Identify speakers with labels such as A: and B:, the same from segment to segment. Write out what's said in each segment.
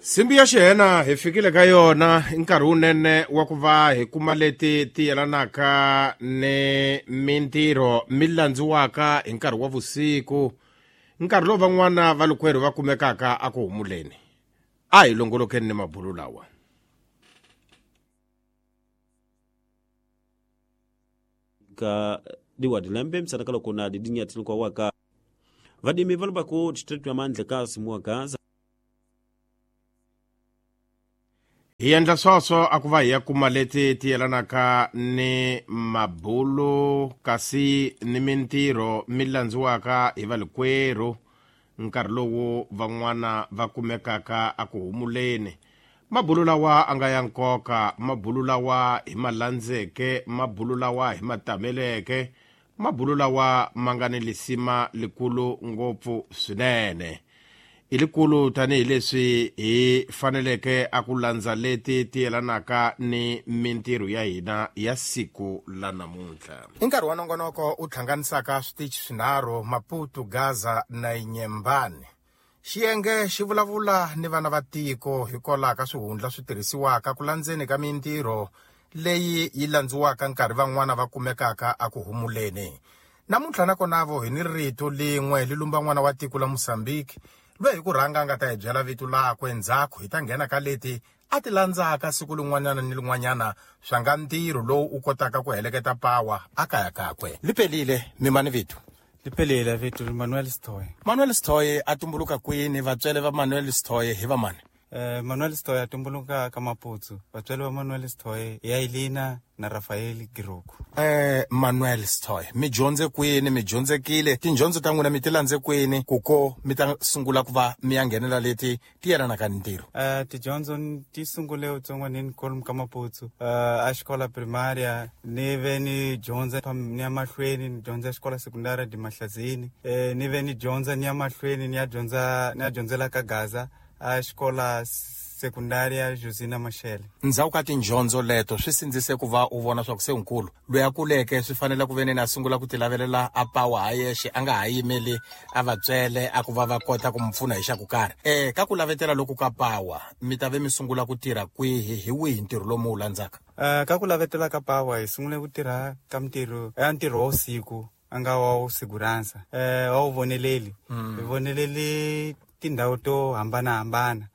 A: Simbi ya xihena hi fikile ka yona i nkarhi wunene wa ku va hi kuma leti ti yelanaka ni mintirho mi landziwaka hi nkarhi wa vusiku, nkarhi lowu van'wana va lukwerhu va kumekaka a ku humuleni. A hi longolokeni ni mabulu lawa.
B: Ka diwadi lembe msana kala kona didinya tilukwa waka vadimi valubaku district ya mandle kasi muwa Gaza.
A: Hi endla swoswo a ku va hi ya kuma leti ti yelanaka ni mabulu kasi ni mintirho mi landziwaka hi valikwerhu nkarhi lowu van'wana va kumekaka a ku humuleni. Mabulu lawa a nga ya nkoka, mabulu lawa hi ma landzeke, mabulu lawa hi ma tameleke, mabulu lawa ma nga ni lisima likulu ngopfu swinene. I likulu tanihileswi hi faneleke a ku landza leti ti yelanaka ni mintirho ya hina ya siku la namuntlha. I nkarhi wa nongonoko u hlanganisaka switichi swinharhu, Maputo, Gaza na Inyembani. Xiyenge xi vulavula ni vana va tiko hikwalaho ka swihundla swi tirhisiwaka ku landzeni ka mintirho leyi yi landziwaka nkarhi van'wana va kumekaka a ku humuleni. Namuntlha nakonavo hi ni rito lin'we li lumba n'wana wa tiko la Mozambique loyi hi ku rhanga a nga ta hi byela vito lakwe, ndzhaku hi ta nghena ka leti a ti landzaka siku lin'wanyana ni lin'wanyana swa nga ntirho lowu u kotaka ku heleketa pawa a kaya kakwe. Lipelile mi mani vito?
C: Lipelile vito Manuel Sithoye.
A: Manuel Sithoye a tumbuluka kwini? Vatswele va Manuel Sithoye hi va mani?
C: Manuel Sithoye a tumbuluka ka Maputsu. Vatswele va Manuel Sithoye ya Elina na Rafael Giroku.
A: Manuel Sithoye, mi dyondze kwini? Mi dyondzekile? Tindyondzo ta n'wina mi ti landze kwini ku ko mi ta sungula ku va mi ya nghenela leti ti yelanaka ni ntirho?
C: Tidyondzo ti sungule utsongwanini kolomu ka Maputsu. A xikola primaria ni ve ni dyondza ni ya mahlweni ni dyondza xikola sekundari di Mahlazini. Ni ve ni dyondza ni ya mahlweni ni ya dyondza ni ya dyondzela ka Gaza a xikola sekundaria Josina Machel.
A: Ndzhaku ka tindyondzo leto swi sindzise ku va u vona swa ku se nkulu loyi a kuleke swi fanele ku ve ni a sungula ku ti lavelela a pawa ha yexe, a nga ha yimeli a vatswele a ku va va kota ku mu pfuna hi xa ku karhi. Ka ku lavetela loku ka pawa mi ta ve mi sungula ku tirha kwihi, hi wihi ntirho lowu mi wu landzaka?
C: Ka ku lavetela ka pawa hi sungule ku tirha ka mintirho ya ntirho wa usiku a nga wa wu siguransa, wa wu voneleli. Hi voneleli tindhawu to hambanahambana.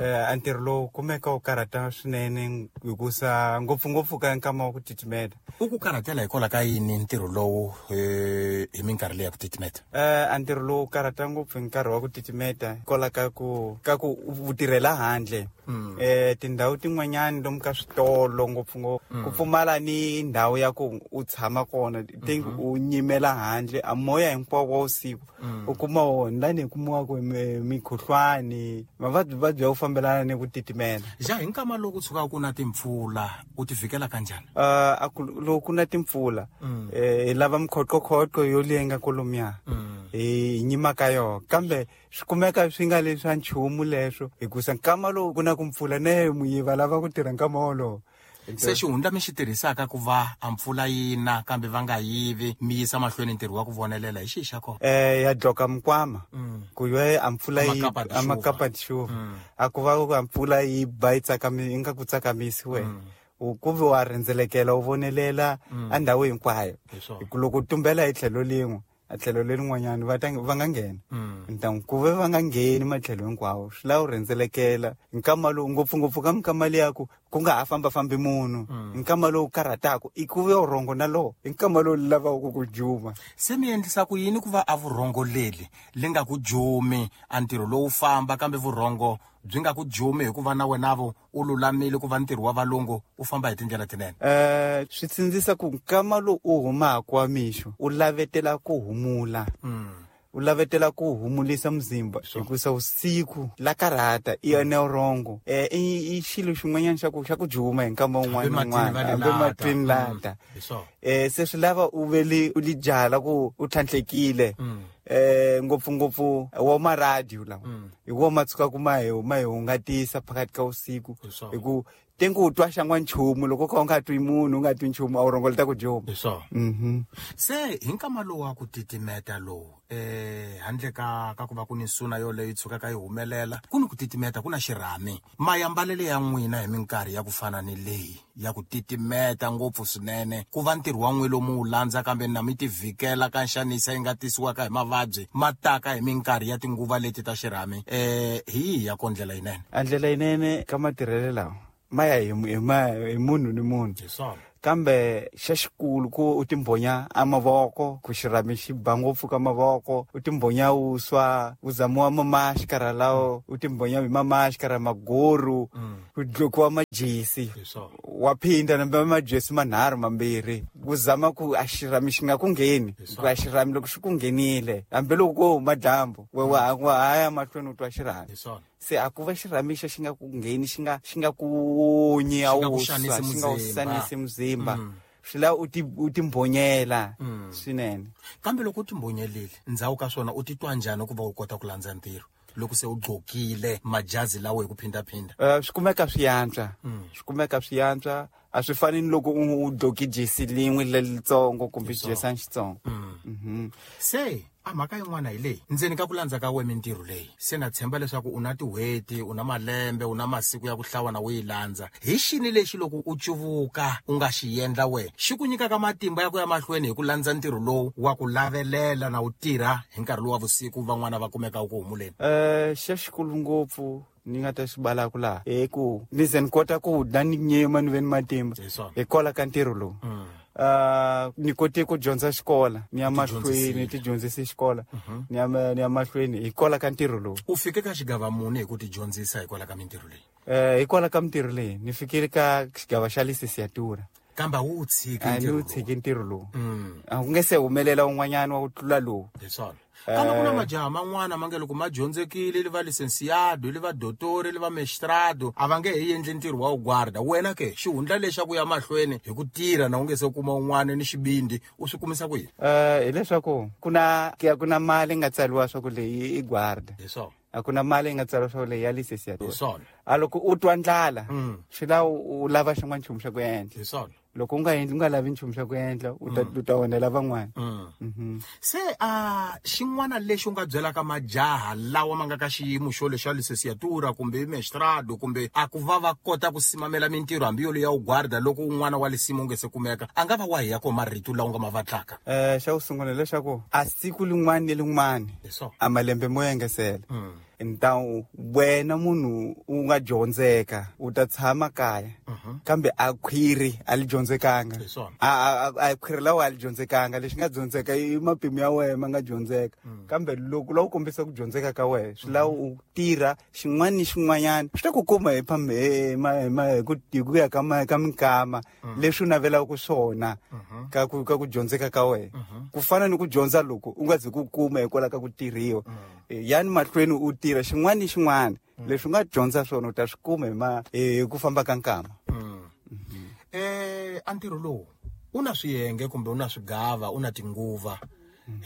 C: A ntirho lowu kumeka wu karhata swinene hikusa ngopfungopfu ka nkama wa ku titimeta.
A: U ku karhatela hikwalaho ka yini ntirho lowu hi minkarhi leyi ya ku titimeta?
C: A ntirho lowu karhata ngopfu hi nkarhi wa ku titimeta hikwalaho ka ku u tirhela handle. Tindhawu tin'wanyani lomu ka switolo ngopfungopfu ku pfumala ni ndhawu ya ku u tshama kona, think u nyimela handle a moya hinkwawo wa usiku u kuma wona lani hi kumiwaka hi mikhuhlwani, mavabyi vabyi ya ku fambelana ni ku titimela.
A: Ja hi nkama lowu ku tshukaka ku na timpfula u ti vhikela kanjhani?
C: A ku loko ku na timpfula, hi lava mikhoqokhotqo yo lenga kolomuya hi nyima ka yona, kambe swi kumeka swi nga leswi swa nchumu leswo hikusa nkama lowu ku na ku mpfula ne muyiva lava ku tirha nkama wolowo.
A: Se xihundla mi xi tirhisaka ku va a mpfula yi na kambe va nga yivi mi yisa mahlweni ntirho wa ku vonelela hi xihi xa kona?
C: Ya dloka mikwama ku yo a mpfula yi
A: Amakapa
C: a makapa tixuva. A ku va ku a mpfula yi ba yi tsakami, yi nga ku tsakamisi wena. U ku vi wa rhendzelekela u vonelela a ndhawu hinkwayo.
A: Hi swona.
C: Hi ku loko u tumbela hi tlhelo lin'we, a tlhelo lerin'wanyana va ta va nga nghena. Ntangu ku ve va nga ngheni matlhelo hinkwawo, swi lava u rhendzelekela. Nkama lowu ngopfungopfu ka minkama liya ku ku nga ha fambafambi munhu. Nkama lowu karhataka i ku ve vurhongo na lowo, i nkama lowu lavaka ku ku juma.
A: Se mi endlisa ku yini ku va a vurhongo leli li nga ku jumi, a ntirho lowu famba kambe vurhongo byi nga ku jumi hikuva na wena vo u lulamile ku va ntirho wa valungu u famba hi tindlela tinene?
C: Swi sindzisa ku nkama lowu u humaka wa mixo u lavetela ku humula. U lavetela ku humulisa muzimba hikusa usiku la karhata i yona vurhongo. I xilo xin'wanyana xa ku juma hi nkama wun'wana na
A: Hambi matini va
C: wun'wana,
A: li
C: hambi
A: lata.
C: matini lata.
A: Hi swona.
C: Se swi lava u ve li, u li byala ku u tlhantlhekile. Ngopfungopfu wa maradiyo lawa hi wo ma tshukaku ma hi hungatisa phakathi ka vusiku, hi ku tengu u twa xangwa nchumu loko ka u nga twi munhu u nga twi nchumu a wu rongoleta ku juma.
A: Hi swona. Se hi nkama lowu wa ku titimeta lowu, handle ka ku va ku ni nsuna yoleyo yi tshukaka yi humelela, ku ni ku titimeta, ku na xirhami, mayambalele ya n'wina hi minkarhi ya ku fana ni leyi ya ku titimeta ngopfu swinene, ku va ntirho wa n'wi lomu wu landza, kambe na mi tivhikela ka nxanisa yi nga tisiwaka hi mavabyi ma taka hi minkarhi ya tinguva leti ta xirhami, hi yihi ya ko ndlela yinene?
C: A ndlela yinene ka matirhelo lawa ma ya hi munhu ni munhu.
A: Hi swona.
C: Kambe xa xikulu ku u timbhonya a mavoko, ku xirhami xi ba ngopfu ka mavoko, u timbhonya uswa, u zamiwa mamaxikara lawo, u timbhonya hi mamaxikara maguru, ku dlokiwa majesi, wa phinda nambe majesi manharhu mambirhi, ku zama ku a xirhami xi nga ku ngheni, ku a xirhami loko xi ku nghenile hambiloko ko huma dyambu wa haya mahlweni u twa xirhami. Se a ku va xirhami xo xi nga ku ngheni, xi nga ku onyi a wu xi nga u xanisi muzimba, swi lava u timbhonyela swinene.
A: Kambe loko u timbhonyelile ndzhaku ka swona u titwa njhani ku va u kota ku landza ntirho loko se u gqokile majazi lawo hi ku phindaphinda?
C: Swi kumeka swi yantswa, swi kumeka swi yantswa. A swi fani ni loko u gqoki jesi lin'we lelitsongo kumbe xijesani xitsongo.
A: Se a mhaka yin'wana hi leyi, ndzeni ka ku landza ka we mintirho leyi, se na tshemba leswaku u na tin'hweti, u na malembe, u na masiku ya ku hlawa na u yi landza, hi xini lexi loko u cuvuka u nga xi endla we xi ku nyikaka matimba ya ku ya mahlweni hi ku landza ntirho lowu wa ku lavelela na u tirha hi nkarhi lowu wa vusiku van'wana va kumeka ku humuleni?
C: Xa xikulu ngopfu ni nga ta xi balaku laha hi ku ni ze ni kota ku dya ni nyima ni ve ni matimba hikwalaho ka ntirho lowu. Ni kote ku dyondza xikola, ni ya mahlweni ti dyondzise xikola, ni ya mahlweni hikwalaho ka ntirho lowu.
A: U fike ka xigava muni hi ku ti dyondzisa hikwalaho ka mintirho leyi?
C: Hikwalaho ka mintirho leyi ni fikile ka xigava xa lisesiatura.
A: Kambe a wu tshiki ntirho
C: lowu? Tshiki ntirho lowu. A ku nge se humelela un'wanyana wa ku tlula lowu.
A: Hi swona. Kambe ku na majaha man'wana ma nge loko ma dyondzekile, li va licenciado, li va dotori, li va mestrado, a va nge he endli ntirho wa guarda. Wena ke xihundla lexa ku ya mahlweni hi ku tirha na u nge se kuma un'wana ni xibindi, u swi kumisa ku yini?
C: Hileswaku ku na mali nga tsariwa swa ku leyi i guarda.
A: Hi swona.
C: A ku na mali yi nga tsariwa swa ku leyi ya licenciatura.
A: Hi swona.
C: A loko u twa ndlala, swi lava u lava xin'wana nchumu xa ku endla.
A: Hi swona.
C: Loko u nga endli, u nga lavi nchumu xa ku endla, u ta onhela van'wana.
A: Se xin'wana lexi u nga byelaka majaha lawa ma nga ka xiyimo xo lexa licenciatura kumbe mestrado, kumbe a ku va va kota ku simamela mintirho hambi yolo ya u guarda loko un'wana wa lisimu u nge se kumeka, a nga va wa hi ya ko marito lawa u nga ma vatlaka?
C: Xa ku sungula leswaku a siku lin'wana ni lin'wana a malembe mo engesela, ntawu wena munhu u nga dyondzeka u ta tshama kaya, kambe a khwiri a li dyondzekanga, a khwiri lawa a li dyondzekanga, lexi nga dyondzeka i mapimo ya wena ma nga dyondzeka, kambe loko la u kombisa ku dyondzeka ka wena swi lava u tirha xin'wana ni xin'wanyana, swi ta ku kuma hi ku ya ka minkama leswi u navelaka swona ka ku dyondzeka ka wena, ku fana ni ku dyondza loko u nga zi ku kuma hikwalaho ka ku tirhiwa. Yani mahlweni u tirha xin'wana ni xin'wana leswi u nga dyondza swona u ta swi kuma hi ku famba ka nkama.
A: A ntirho lowu u na swiyenge kumbe u na swigava, u na tinguva.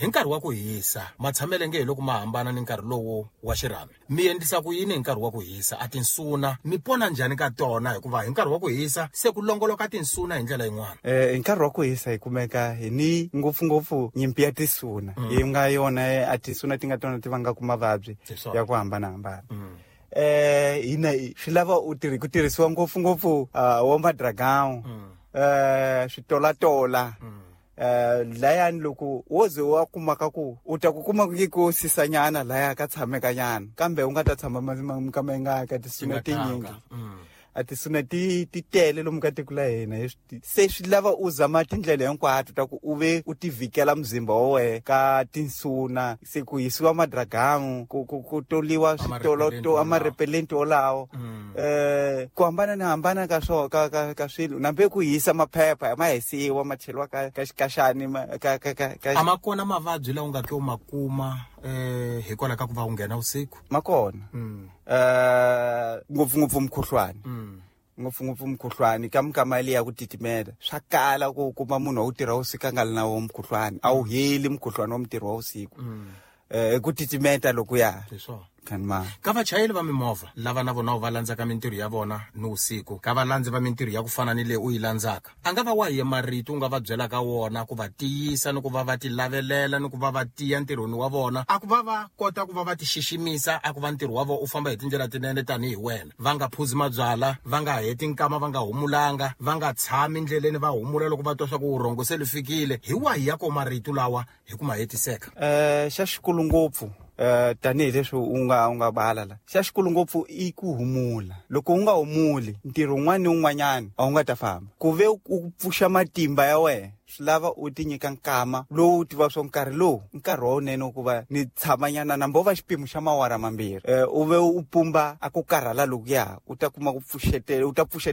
A: Hi nkarhi wa ku hisa matshamele nge hi loko ma hambana ni nkarhi lowu wa xirhami, mi endlisa ku yini hi nkarhi wa ku hisa? A tinsuna mi pona njhani ka tona, hikuva hi nkarhi wa ku hisa se ku longoloka tinsuna hi ndlela yin'wana?
C: Hi nkarhi wa ku hisa hi kumeka hi ni ngopfungopfu nyimpi ya tisuna, yi nga yona a tisuna ti nga tona ti vangaka mavabyi ya ku hambanahambana. Hina swi lava u ku tirhisiwa ngopfungopfu wa madragão, switolatola. Layani loko wo ze wa kumaka ku u ta ku kuma ku ku sisanyana laya ka tshamekanyana, kambe u nga ta tshama minkama yi nga ka tisuna tinyingi, a tisuna ti tele lomu ka tiko la hina. Se swi lava u zama tindlela hinkwato ta ku u ve u tivikela muzimba wa wena ka tinsuna, se ku hisiwa madragamu, ku toliwa switolo amarepelenti wolawo, ku hambana ni hambana ka swo ka swilo, nambe ku hisa maphepha ma hisiwa ma cheliwa ka xikaxani ka
A: a ma kona mavabyi lawa u nga ke u ma kuma hikwalaho ka ku va u nghena vusiku?
C: Ma kona. Ngopfungopfu mukhuhlwani, ngopfungopfu mukhuhlwani ka minkama leyi ya ku titimela, swa kala ku kuma munhu wa ku tirha vusiku a nga li na wo mukhuhlwani, a wu heli mukhuhlwani wa mutirhi wa vusiku. Ku titimeta lokuya.
D: Hi swona.
C: Khanma.
D: Ka vachayeri va mimovha lava na vona va landzaka mintirho ya vona ni vusiku, ka valandzi va mintirho ya ku fana ni leyi u yi landzaka, a nga va wahi marito u nga va byelaka wona ku va tiyisa ni ku va va ti lavelela ni ku va va tiya ntirhweni wa vona, a ku va va kota ku va va ti xiximisa, a ku va ntirho wa vona u famba hi tindlela tinene tanihi wena, va nga phuzi mabyala, va nga heti nkama va nga humulanga, va nga tshami ndleleni va humula loko va twa swa ku vurhongo se li fikile? Hi wahi ya ko marito lawa hi ku ma hetiseka?
C: Xa xikulu ngopfu, tanihileswi u nga bala la, xa xikulu ngopfu i ku humula. Loko u nga humuli, ntirho wun'wana ni wun'wanyana a wu nga ta famba. Ku ve u pfuxa matimba ya wena, swi lava u ti nyika nkama lowu u tiva swo nkarhi lowu nkarhi wa wunene ku va ni tshamanyana, nambo va xipimo xa mawara 2, u ve u pumba a ku karhala lokuya, u ta kuma ku pfuxetela, u ta pfuxetela.